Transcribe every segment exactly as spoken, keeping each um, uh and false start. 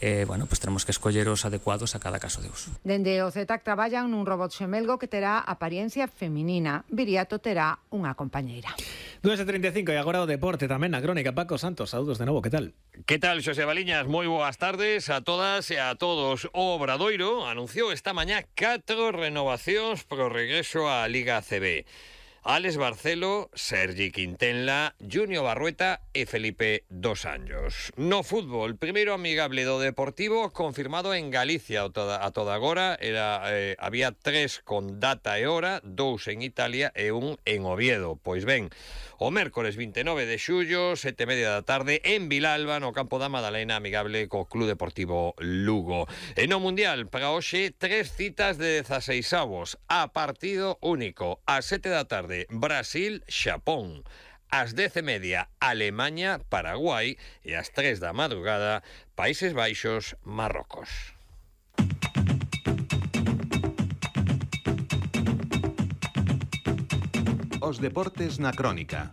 Eh, bueno, pues tenemos que escoller os adecuados a cada caso de uso. Dende o Z A C traballan nun robot xemelgo que terá apariencia feminina. Viriato terá unha compañeira. dúas e treinta e cinco e agora o deporte tamén na crónica. Paco Santos, saúdos de novo, que tal? Que tal, Xosé Baliñas? Moi boas tardes a todas e a todos. O Obradoiro anunciou esta mañá catro renovacións pro regreso á Liga A C B. Alex Barcelo, Sergi Quintenla, Junior Barrueta e Felipe Dos Anjos. No fútbol, primeiro amigable do Deportivo confirmado en Galicia a toda, a toda agora. Era, eh, había tres con data e hora, dous en Italia e un en Oviedo. Pois ben, o mércores vinte e nove de xullo, sete e media da tarde, en Vilalba, no campo da Madalena, amigable co Club Deportivo Lugo. E no Mundial, para hoxe, tres citas de dezaseisavos, a partido único, a sete da tarde, Brasil, Xapón. Ás dez e media, Alemanha, Paraguai. E ás tres da madrugada, Países Baixos, Marrocos. Os deportes na crónica.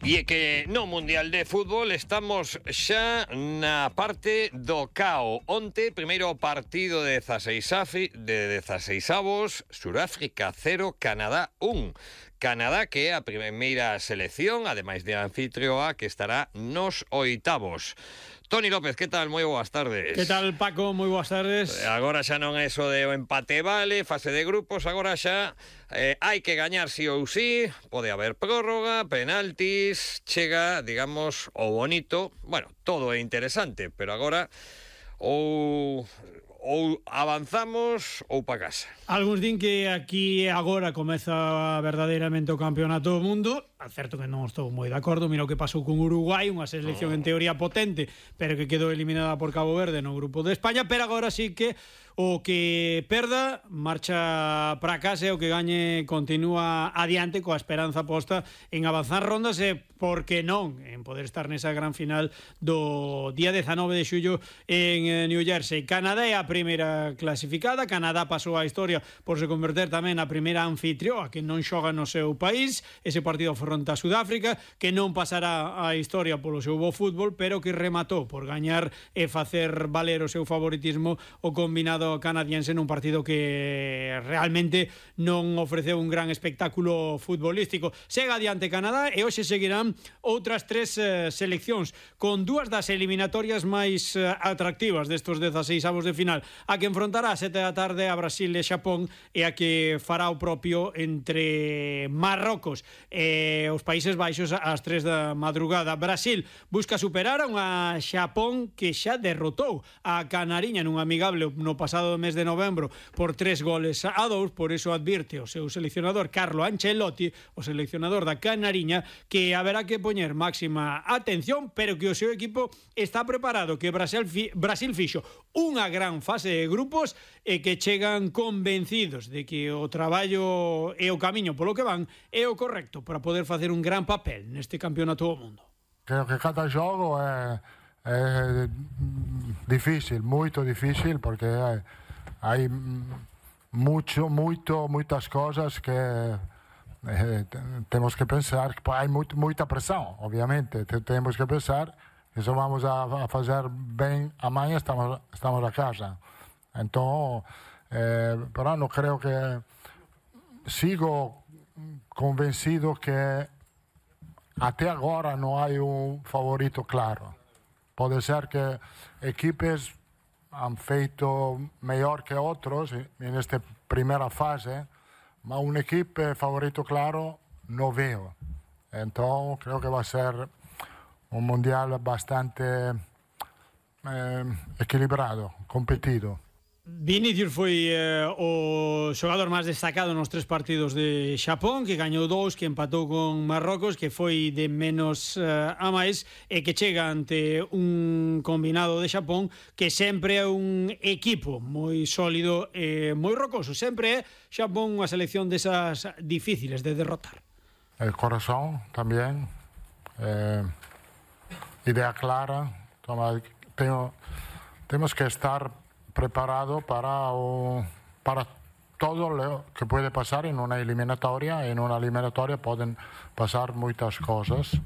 E é que no Mundial de Fútbol estamos xa na parte do cao. Onte, primeiro partido de dezaseisavos, Suráfrica cero, Canadá un. Canadá que é a primeira selección, ademais de anfitrioa, que estará nos oitavos. Toni López, que tal? Moi boas tardes. Que tal, Paco? Moi boas tardes. Agora xa non é eso de o empate vale, fase de grupos, agora xa eh, hai que gañar sí ou sí, pode haber prórroga, penaltis, chega, digamos, o bonito, bueno, todo é interesante, pero agora ou ou avanzamos ou pa casa. Algúns din que aquí agora comeza verdadeiramente o campeonato do mundo. Certo que non estou moi de acordo. Mira o que pasou con Uruguai, unha selección en teoría potente, pero que quedou eliminada por Cabo Verde no grupo de España. Pero agora sí que o que perda marcha para casa e o que gañe continúa adiante coa esperanza posta en avanzar rondas e, por que non, en poder estar nesa gran final do día dezanove de xullo en New Jersey. Canadá é a primeira clasificada. Canadá pasou a historia por se converter tamén na primeira anfitrioa que non xoga no seu país. Ese partido fronte a Sudáfrica, que non pasará a historia polo seu bo fútbol, pero que rematou por gañar e facer valer o seu favoritismo o combinado canadiense nun partido que realmente non ofreceu un gran espectáculo futbolístico. Sega adiante Canadá e hoxe seguirán outras tres eh, seleccións con dúas das eliminatorias máis eh, atractivas destos dezaseisavos de final. A que enfrontará a sete da tarde a Brasil e Xapón e a que fará o propio entre Marrocos e os Países Baixos ás tres da madrugada. Brasil busca superar a unha Xapón que xa derrotou a Canariña nun amigable no pasado mes de novembro por tres goles a dous. Por iso advirte o seu seleccionador Carlo Ancelotti, o seleccionador da Canariña, que haberá que poñer máxima atención, pero que o seu equipo está preparado, que Brasil, fi, Brasil fixo unha gran fase de grupos e que chegan convencidos de que o traballo e o camiño polo que van é o correcto para poder facer un gran papel neste campeonato do mundo. Creo que cada xogo é, é difícil, moito difícil, porque hai, hai mucho, moito, moitas cosas que eh, temos que pensar, que hai moito, moita presión, obviamente, temos que pensar que se vamos a, a fazer ben amanhã estamos, estamos a casa. Entón, eh, pero non creo que sigo convencido que até agora non hai un favorito claro. Pode ser que equipes han feito mellor que outros en esta primeira fase, mas un equipe favorito claro non veo. Entón, creo que vai ser un mundial bastante eh, equilibrado, competido. Vinicius foi eh, o xogador máis destacado nos tres partidos de Xapón, que gañou dous, que empatou con Marrocos, que foi de menos eh, a máis e que chega ante un combinado de Xapón que sempre é un equipo moi sólido e moi rocoso. Sempre é Xapón unha selección desas difíciles de derrotar. El corazón tamén, eh, idea clara. Toma, tengo, temos que estar preparado para, o, para todo lo que puede pasar en una eliminatoria. En una eliminatoria pueden pasar muchas cosas.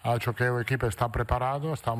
Acho que o equipo está preparado, estamos